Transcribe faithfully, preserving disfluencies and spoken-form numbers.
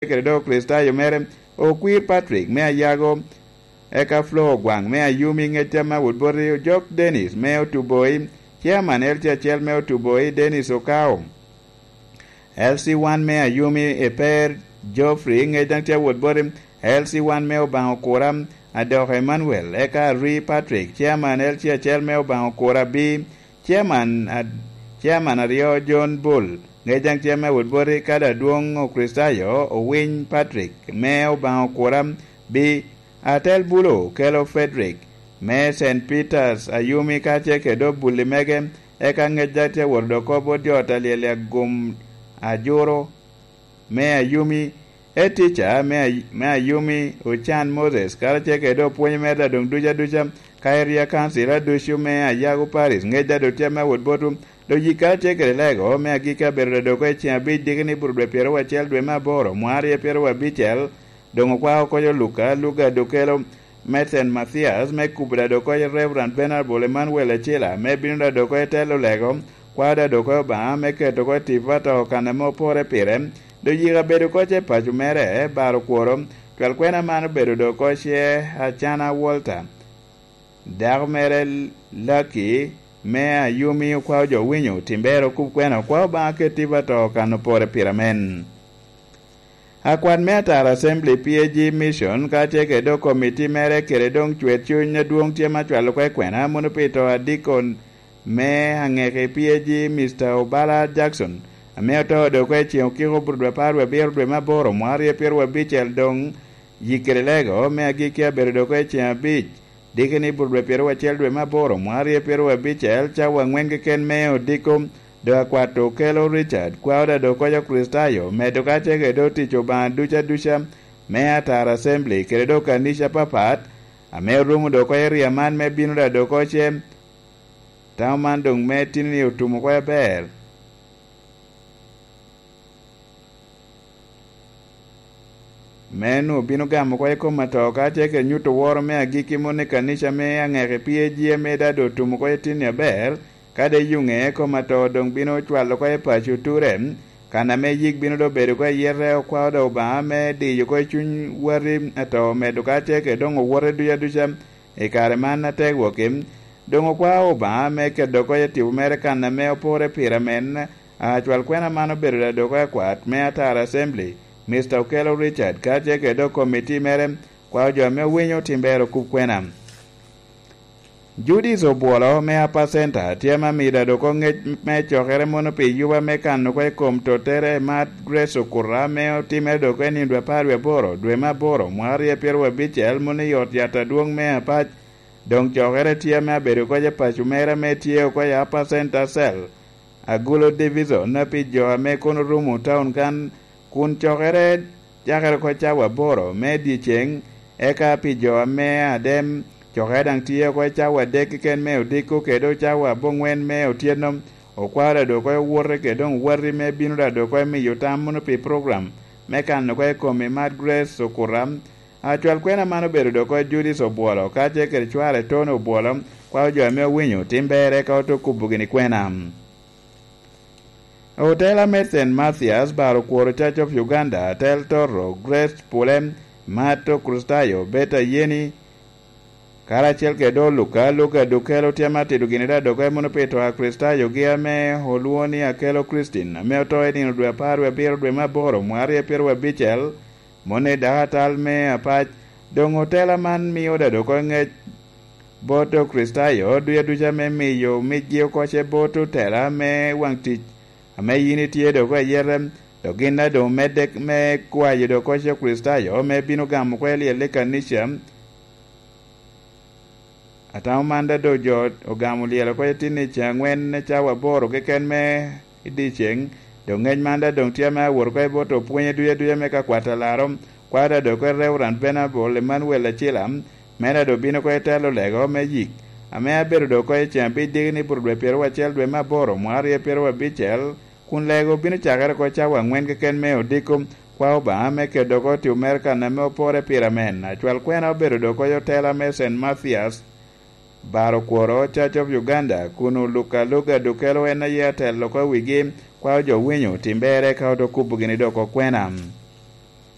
kede dok Kricitayo mere, Okwir Patrick me Ayago, eka Flo Ogwaŋ me Ayumi, Ŋecca me Awot Boti, Ojok Dennis me Otuboi, Chairman L C acel me Otuboi, Dennis Okao, L C one me Ayumi, Eper Geoffrey, Ŋec daŋ tye Awot Boti, L C one me Obaŋa Okura, Adoko Emmanuel, eka Arwi Patrick, Chairman L C acel me Obaŋa Okura B, Chairman, ad-, Chairman aryo John Bull, Ŋec daŋ tye me Awot Boti, kadi adwoŋ Okricitayo Owiny Patrick me Obaŋa Okura B, Atel Bulo kelo Frederick me Saint Peters Ayumi, ka tye kede obulli mege, eka Ŋec daŋ tye Awot Odokobo, Dyot Alyel Agum Ajuro me Ayumi, Etica me Ay-, me Ayumi, Ocan Moses, karacel kede opwonyo mere daŋ ducu aduca, ka Area Council aducu me Ayago Parish, Ŋec daŋ tye me Awot Boti, Doŋ yikka tye kede lego me agikki abedo daŋ dok i ceŋ abic, diki ni Burudwe pyeraryo acel dwe me aboro, mwaŋ aryo pyeraryo abicel, doŋ okwao oko Luka, Luka doŋ kelo Methen Mathias, me kubo daŋ dok i Reverend Venerable Emmanuel Acila, me bino daŋ dok i telo lego, kwao daŋ dok i Obaŋa, me keto oko i tipo atoko kan ame opore pire, doŋ yika bedo oko ce paco mere, baro kworo, twal kwena man obedo dok oko ce Acana Walter. Dako mere Lucky me Ayumi okwao jo winyo timbere okub kwena okwao Obaŋa keti ba to kan opore pire men. Akwat me Atara Assembly P A G Mission ka tye kede dok komiti mere kede doŋ cwer cuny adwoŋ tye ma cwalo kwe kwena mono pi to adikon me aŋeki P A G Mister Obala Jackson ame oto dok i ceŋ okiko burudwe apar wie abiro dwe me aboro mwaŋ aryo pyeraryo abicel doŋ yik kede lego me agikki abedo dok i ceŋ abic diki ni burudwe pyeraryo acel dwe me aboro mwaŋ aryo pyeraryo abicel cawa aŋwen keken me odiko. Doŋ akwat okelo Richard kwao daŋ dok okoco Kricitayo medo ka tye kede otic Obaŋa ducu aduca me Atara Assembly kede dok kanica apapat ame orumo dok oko i ria man me bino daŋ dok oko ce. Tamo man doŋ me tini ni otum oko aber. Me nwoŋo bino gamo oko i kom ato ka tye kede nyuto woro me agikki mono i kanica me aŋeki P A G ame daŋ doŋ otum oko i tinni aber, ka de yuŋe kom ato doŋ bino cwalo oko i paco ture, kan ame yik bino doŋ bedo oko i yete okwao doŋ Obaŋa me diyo oko i cuny wati ato medo ka tye kede doŋ owote ducu aduca i kare man atek wokki. Doŋ okwao Obaŋa me keto oko i tipo mere kan ame opore pire amen. Acwal kwena man obedo ladok akwat me Atara Assembly, Mister Okello Richard, ka tye kede dok komiti mere, kwao jo ame owinyo timbere okub kwena. Judith Obwolo me Upper Center tye ame amito adoko ŋec me cokere mono pi yuba me kano oko i kom tottere Mad Grace Okuta ame otimere dok i nino dwe apar wie aboro, dwe me aboro, mwaka aryo pyeraryo abicel, mono i ot yat adwoŋ me Apac. Doŋ cokere tye ame abedo oko i paco mere ame tye oko i Upper Center Cell. Agulo Division pi jo ame kono rumo taun kan, kun cokere cakere oko cawa aboro me dyeceŋ, eka pi jo ame adem, cokere daŋ tye oko i cawa adek keken me odiko kede cawa aboŋwen me otyeno. Okwao ladok oko owote kede doŋ wati me bino ladok oko miyo tam mono pi program me kano oko i kom i Mad Grace Okuta. Acwal kwena man obedo dok oko Judith Obwolo, kacel kede cware Tony Obwolo, kwao jo ame owinyo tim berre ka ote kubo gini kwena. Otela me Saint Mathias, Baro Kworo Church of Uganda, Atel Toro, Grace Pule, Mato Kristayo, Beta Yeni, karacel kede Oluka, Luka Dukelo tye ma tito gini daŋ dok emo pito Akristayogi ame olwoŋo ni Akelo Christine, ame oto i nino dwe apar wie abiro dwe me aboro, mwaka aryo pyeraryo abicel, mono i dakatal me Apac. Doŋ otela man mio daŋ dok ŋec bot Okricitayo ducu aduca me miyo micgi oko ce bot otela me waŋ tic ame yin itye dok ayete, dok gin daŋ doŋ omedde me kwayo dok oko ce Okricitayo me bino gamo oko i lyel i kanica. Atamo man daŋ doŋ jo ogamo lyel oko i tin i ceŋ aŋwen cawa aboro keken me i dyeceŋ. Doŋ ŋec man daŋ doŋ tye ame awot oko i bot opwonye ducu aduca me ka kwat alaro, kwada dok i Reverend Venerable Emmanuel Acila, mera doŋ bino oko i telo lego me yik, ame abedo dok oko i ceŋ abic diki ni bur dwe pyeraryo acel dwe me aboro, mwaka aryo pyeraryo abicel, kun lego bino cakere oko cawa aŋwen keken me odiko, kwa Obaŋa me kedo oko tio mere kan ame opore pire amen. Acwal kwena obedo dok oko i otela me Saint Mathias, Baro Kworo, Church of Uganda, kun Oluka Luga Dukelo en aye atelo oko i wigi, kwao jo winyo tim berre ka ote kubo gini dok okwena.